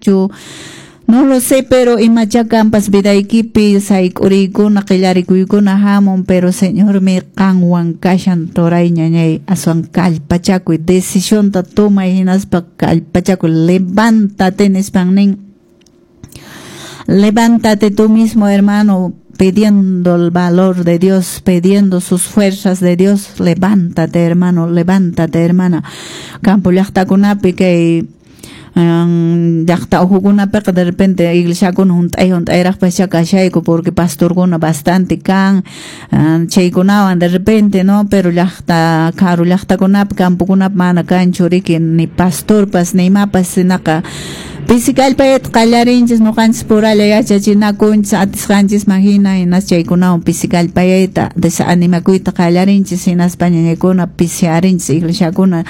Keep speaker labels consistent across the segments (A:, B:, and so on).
A: Manaraqchu? No lo sé, pero imacha kanpas vidaykipi sayk'uriykuna qillarikuykuna hamun, pero Señormi qanwan kashan turay ñañay, aswan kallpachakuy, decisionta tomay hinaspa kallpachakuy, levántate nispan nin. Levántate tú mismo, hermano, pidiendo el valor de Dios, pidiendo sus fuerzas de Dios. Levántate, hermano, levántate, hermana. Campo llaqtakunapi kay llaqta uhukunapiqa de repente iglesiakuna hunt'ay hunt'ayraqpascha kashayku porque pastorkuna bastante kan chaykunawan de repente, no, pero llaqta karu llaqtakunapi campokunapi mana kanchu riki ni pastorpas ni imapas, sinaqa pisi kallpayta qallarinchis ñuqanchis puralla yachachinakunchis atisqanchisman hina, hinas chaykunawan pisi kallpayayta desanimakuyta qallarinchis, hinaspa ñañaykuna pisiarinchis iglesiakuna.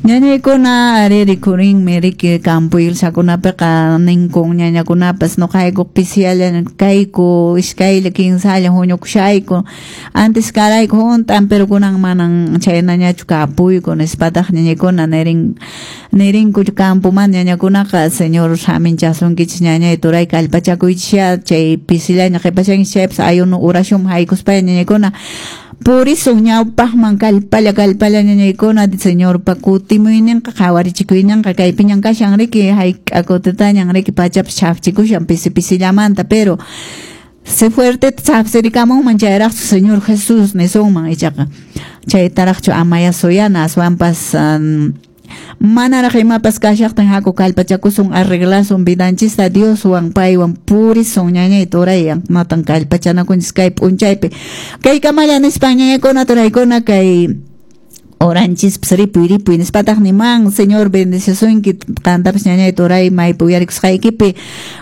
A: Ñañaykuna ari rikurinmi riki campo iglesiakunapiqa ninkun ñañakunapas ñuqayku pisiyalla kayku iskaylla kinsalla huñukushayku antes karayku hunt'an pero kunan manan chaynañachu kapuyku nispataq ñañaykuna nirinku campomanta ñañakunaqa Señor saminchasunkichis ñañay turay kallpachakuychisya chay pisillaña qhipashankichis chaypas ayuno oración haykuspalla ñañaykuna purisun ñawpaqman kallpalla kallpalla ñañaykuna Señorpa kutimuyninqa qhawarichikuyninqa kaypiñan kashan riki hayk'a kutitañan riki pachapas chhafchikushan pisi pisillamanta pero se fuerte chhafsirikamunman chayraqchu Señor Jesús nisunman ichaqa chaytaraqchu amaya suyana aswanpas manaraq imapas kashaqtin haku kallpachakusun arreglasun vidanchista Dioswan paywan purisun ñañay turay matan kallpachanakunchis kay p'unchaypi kay kamalla nispan ñañaykuna turaykuna kay oranchispas ripuy ripuy nispataq niman Señor bendecisunki qantapas ñañay turay maypi uyarikusqaykipi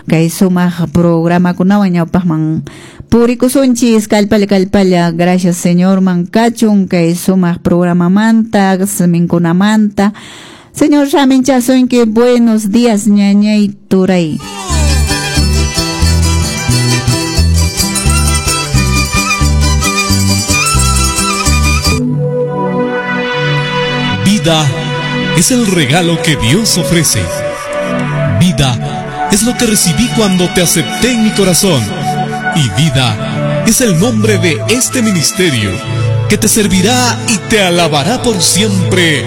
A: kay sumaq programakunawan ñawpaqman purikusunchis kallpalla kallpalla gracias Señorman kachun kay sumaq programamanta siminkunamanta Señor saminchasunki buenos días ñañay turay.
B: Vida es el regalo que Dios ofrece. Vida es lo que recibí cuando te acepté en mi corazón. Y vida es el nombre de este ministerio que te servirá y te alabará por siempre.